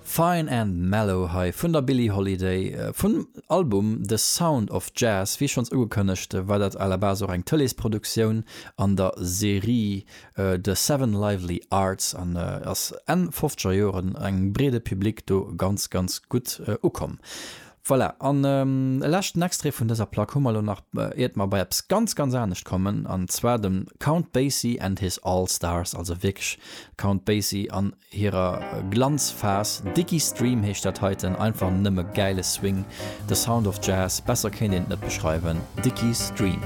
Fine and Mellow hei vun der Billie Holiday vum Album The Sound of Jazz. Wéi schonns ugekënnegt war dat à la base och eng Tëleesproduktioun an der Serie The Seven Lively Arts an ass Enn fofzeger Joren engem breede Public do ganz ganz gutt ukomm. Voilà, an e leschten Extrait vun dëser Plack hu mer elo nach, iert mer bei eppes ganz, ganz anescht kommen, an zwar dem Count Basie and his All Stars, also wierklech Count Basie an hirer Glanzphas. Dickies Dream heescht dat heiten, einfach nëmme gäile Swing, the sound of jazz, besser kéint een et net beschreiwen, Dickies Dream.